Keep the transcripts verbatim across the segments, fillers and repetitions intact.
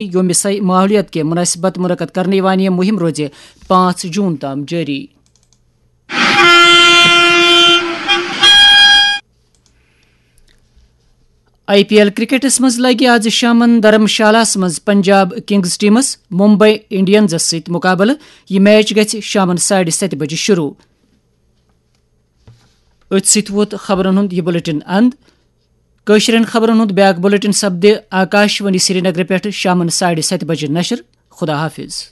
یوم سیاحت ماحولیات کے مناسبت منعقد کرنے والی یہ مہم روزِ پانچ جون تام جاری۔ آئی پی ایل کرکٹس منٛز لگہِ آز شامن دھرم شالاہس منٛز پنجاب کنگز ٹیمس ممبئی انڈینزس سۭتۍ مقابلہٕ۔ یہِ میچ گژھِ شامن ساڑِ ستہِ بجہِ شروع۔ أتھۍ سۭتۍ ووت خبرن ہُنٛد یہِ بلیٹن اند۔ کٲشرٮ۪ن خبرن ہُنٛد بیاکھ بلیٹن سپدِ آکاش وانی سرینگر پٮ۪ٹھ شامن ساڑِ ستہِ بجہِ نشر۔ خدا حافظ۔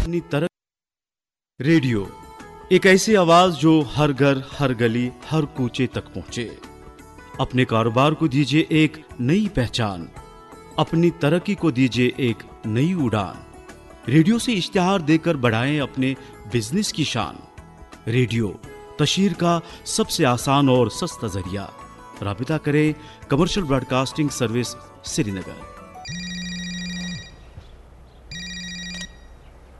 اپنی طرف ریڈیو، ایک ایسی آواز جو ہر گھر، ہر گلی، ہر کوچے تک پہنچے۔ اپنے کاروبار کو دیجیے ایک نئی پہچان، اپنی ترقی کو دیجیے ایک نئی اڑان۔ ریڈیو سے اشتہار دیکر بڑھائیں اپنے بزنس کی شان۔ ریڈیو، تشہیر کا سب سے آسان اور سستا ذریعہ۔ رابطہ کریں کمرشل براڈکاسٹنگ سروس، سری نگر۔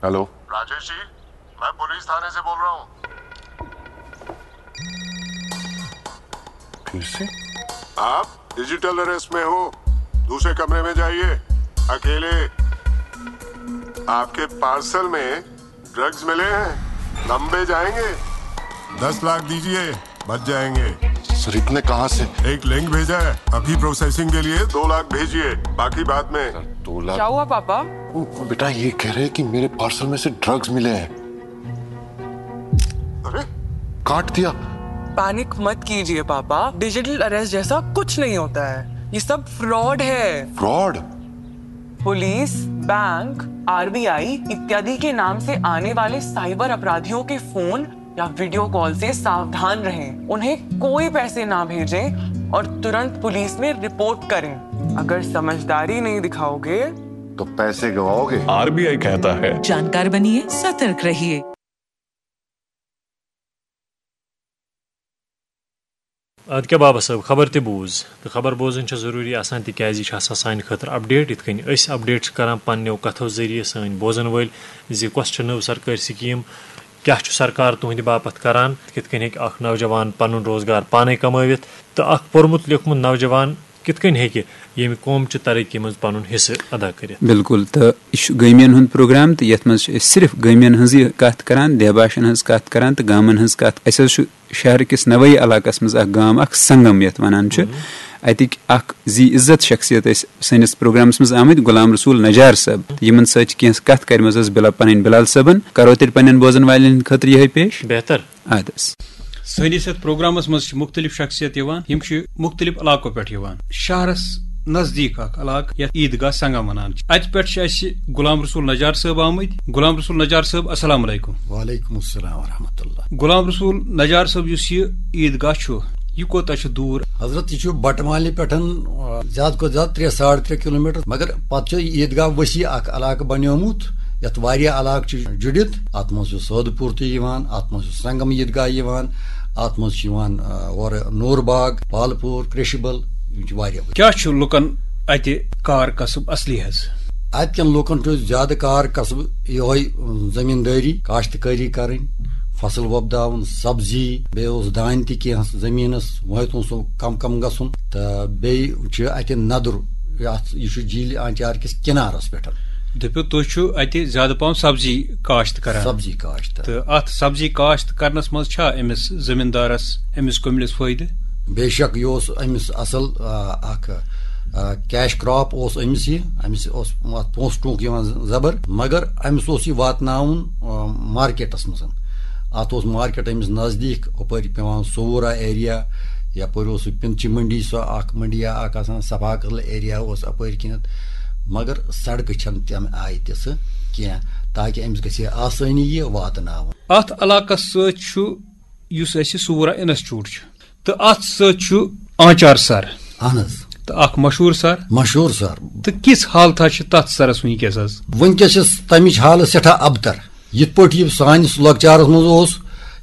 ہیلو۔ راجیش جی، میں پولیس تھانے سے بول رہا ہوں۔ پھر سے؟ آپ ڈیجیٹل اریسٹ میں ہو، دوسرے کمرے میں جائیے، اکیلے۔ آپ کے پارسل میں ڈرگز ملے ہیں، لمبے جائیں گے۔ دس لاکھ دیجیے، بچ جائیں گے۔ سر، اتنے کہاں سے؟ ایک لنک بھیجا ہے، ابھی پروسیسنگ کے لیے دو لاکھ بھیجیے، باقی بعد میں۔ سر، دو لاکھ؟ کیا ہوا پاپا؟ بیٹا یہ کہہ رہے کہ میرے پارسل میں سے ڈرگز ملے ہیں۔ ارے؟ کاٹ دیا۔ پینک مت کیجیے پاپا، ڈیجیٹل اریسٹ جیسا کچھ نہیں ہوتا ہے، یہ سب فراڈ ہے۔ Fraud? Police, bank, R B I اتیادی کے نام سے آنے والے سائبر اپرادھیوں کے فون یا ویڈیو کال سے ساودھان رہیں، انہیں کوئی پیسے نہ بھیجیں اور ترنت پولیس میں رپورٹ کریں۔ اگر سمجھداری نہیں دکھاؤ گے تو پیسے گواؤ گے۔ آر بی آئی کہتا ہے، جانکار بنیے، سترک رہیے۔ ادٕ کیٛاہ بابا صٲب، خبر تہِ بوٗز۔ تہٕ خبر بوزٕنۍ چھےٚ ضروٗری آسان، تِکیٛازِ یہِ چھِ آسان سانہِ خٲطرٕ اپڈیٹ۔ یِتھ کٔنۍ أسۍ اپڈیٹ چھِ کران پننیو کتھو ذٔریعہٕ سٲنۍ بوزن وٲلۍ زِ کۄس چھےٚ نٔو سرکٲرۍ سکیٖم، کیٛاہ چھُ سرکار تُہنٛدِ باپتھ کران، کِتھ کٔنۍ ہیٚکہِ اکھ نوجوان پنُن روزگار پانے کمٲوِتھ، تہٕ اکھ پوٚرمُت لیوٚکھمُت نوجوان کِتھ کٔنۍ ہیٚکہِ ییٚمہِ قومچہِ ترقی منٛز پنُن حصہٕ ادا کٔرِتھ۔ بِلکُل، تہٕ یہِ چھُ گٲمین ہُنٛد پروگرام، تہٕ یتھ منٛز چھِ أسۍ صرف گٲمین ہٕنٛزٕے کتھ کران، دہباشن ہٕنٛز کتھ کران تہٕ گامن ہٕنٛز کتھ۔ اسہِ حظ چھُ شہر کِس نوٲیی علاقس منٛز اکھ گام، اکھ سنگم یتھ ونان چھِ۔ اتِکۍ اکھ ذی عزت شخصیت ٲسۍ سٲنِس پروگرامس منٛز آمٕتۍ، غلام رسول نجار صٲب۔ یِمن سۭتۍ چھِ کینٛہہ کتھ کرِمٕژ ٲس بلا-، پنٕنۍ بلال صٲبن۔ کرو تیٚلہِ پننٮ۪ن بوزن والٮ۪ن ہٕنٛدِ خٲطرٕ یِہوٚے پیش۔ بہتر۔ ادٕ حظ۔ سٲنِس یتھ پروگرامس منٛز چھِ مُختٔلِف شخصیت یِوان، یِم چھِ مُختٔلِف علاقو پٮ۪ٹھ یِوان۔ شہرس نزدیٖک اکھ علاقہٕ یتھ عیدگاہ سنگم ونان چھِ۔ اتہِ پٮ۪ٹھ چھِ اسہِ غلام رسول نجار صٲب آمٕتۍ۔ غلام رسول نجار صٲب، السلام علیکم۔ وعلیکم السلام ورحمۃ اللہ۔ غلام رسول نجار صٲب، یُس یہِ عیدگاہ چھُ، یہِ کوتاہ چھُ دوٗر؟ حضرت، یہِ چھُ بٹہٕ مالنہِ پٮ۪ٹھ، آ، زیادٕ کھۄتہٕ زیادٕ ترٛےٚ، ساڑ ترٛےٚ کلوٗمیٹر، مگر پتہٕ چھُ یہِ عیدگاہ وسیع اکھ علاقہٕ بنیومُت، یتھ واریاہ علاقہٕ چھِ جُڑِتھ۔ اتھ منٛز چھُ سودٕ پوٗر تہِ یِوان، اتھ منٛز چھُ سنگم عیدگاہ یِوان، اتھ منٛز چھُ یِوان، آ، اورٕ نور باغ، پالہٕ پوٗر، کرشبل، یِم چھِ واریاہ۔ کیٛاہ چھُ لُکن اتہِ کار کسب اصلی حظ؟ اتہِ کٮ۪ن لُکن چھُ زیادٕ کار کسب یِہوٚے، اۭں، زٔمیٖندٲری، کاشتکٲری کرٕنۍ، فصل وۄپداوُن، سبزی، بیٚیہِ اوس دانہِ تہِ کینٛہہ زٔمیٖنس، وۄنۍ ہیوٚتُن سُہ کم کم گژھُن۔ تہٕ بیٚیہِ چھُ اتہِ ندُر، یتھ، یہِ چھُ جھیٖلہِ آنچار کِس کنارس پٮ۪ٹھ۔ دٔپِو، تُہۍ چھِو اتہِ زیادٕ پہم سبزی کاشت کران؟ سبزی کاشت۔ تہٕ اتھ سبزی کاشت کرنس منٛز چھا أمِس زٔمیٖندارس، أمِس کُملِس فٲیدٕ؟ بے شک، یہِ اوس أمِس اصل، آ، اکھ، آ، کیش کراپ اوس أمِس یہِ، أمِس اوس اتھ پونٛسہٕ ٹونٛک یِوان زبر، مگر أمِس اوس یہِ واتناوُن، آ، مارکیٹس منٛز۔ اتھ اوس مارکیٹ أمِس نزدیٖک، ہُپٲرۍ پٮ۪وان صوورہ ایریا، یپٲرۍ اوس سُہ پِنچہِ منڈی، سۄ اکھ منڈیا اکھ آسان، صفا قدل ایریا اوس اپٲرۍ کِنٮ۪تھ، مگر سڑکہٕ چھنہٕ تمہِ آیہِ تِژھٕ کینٛہہ، تاکہِ أمِس گژھِ ہے آسٲنی یہِ واتناوُن۔ اتھ علاقس سۭتۍ چھُ، یُس اسہِ صوورہ انسٹیٹیوٹ چھُ، تہٕ اتھ سۭتۍ چھُ آنچار سر۔ اہن حظ۔ تہٕ اکھ مشہوٗر سر۔ مشہوٗر سر۔ تہٕ کِژھ حالتھا چھِ تتھ سرس وٕنکیٚس حظ؟ وٕنکیٚس چھِ تمِچ حالت سٮ۪ٹھاہ ابتر۔ یِتھ پٲٹھۍ یہِ سانِس لۄکچارس منٛز اوس،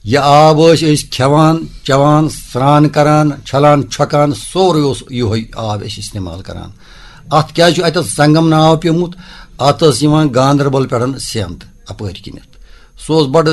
یہِ آب ٲسۍ أسۍ کھٮ۪وان، چٮ۪وان، سرٛان کران، چھلان، چھۄکان، سورُے اوس یِہوٚے آب أسۍ استعمال کران۔ اتھ کیٛازِ چھُ اتٮ۪تھ سنگم ناو پیومُت؟ اتھ ٲس یِوان گاندربل پٮ۪ٹھ سٮ۪نٛد اپٲرۍ کِنٮ۪تھ۔ سُہ اوس بڑٕ